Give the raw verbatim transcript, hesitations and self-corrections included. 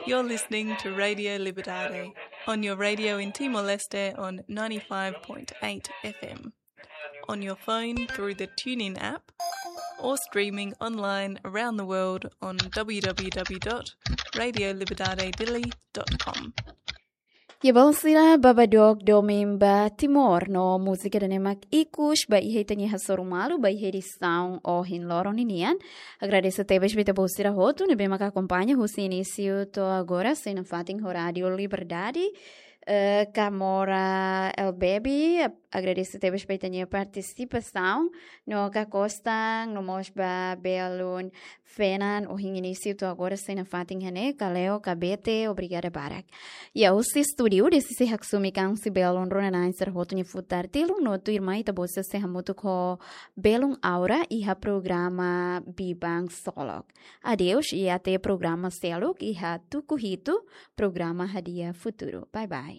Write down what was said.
You're listening to Radio Liberdade on your radio in Timor-Leste on ninety-five point eight F M, on your phone through the TuneIn app, or streaming online around the world on w w w dot radio liberdade dili dot com. Iha balun sira, bá ba dook domin ba Timor no múzika ida-ne'e mak ikus ba iha ita-nia hasoru malu ba iha edisaun ohin loron ninian. Agradese tebes ba ita-boot sira hotu ne'ebé maka akompaña husi inísiu to'o agora sei nafatin ho Rádio Liberdade. Eh, Kamora El Baby, ag-, agradese tebes ba ita-nia partisipasaun, no Ka Kostan, no mós ba belun Fenan, ohin inísiu to'o agora sei nafatin iha ne'e, Kaleo, Kabete, obrigada barak. Iha husi estúdiu, dezde sei haksomi an husi belun rona-na'in sira hotu nia futar tilun, no tuirmai ita-boot sira sei hamutuk ho belun Aura iha programa Biban Solok. Adeus, i até programa seluk iha tuku hitu, programa Hadi'a Futuru. Bye bye.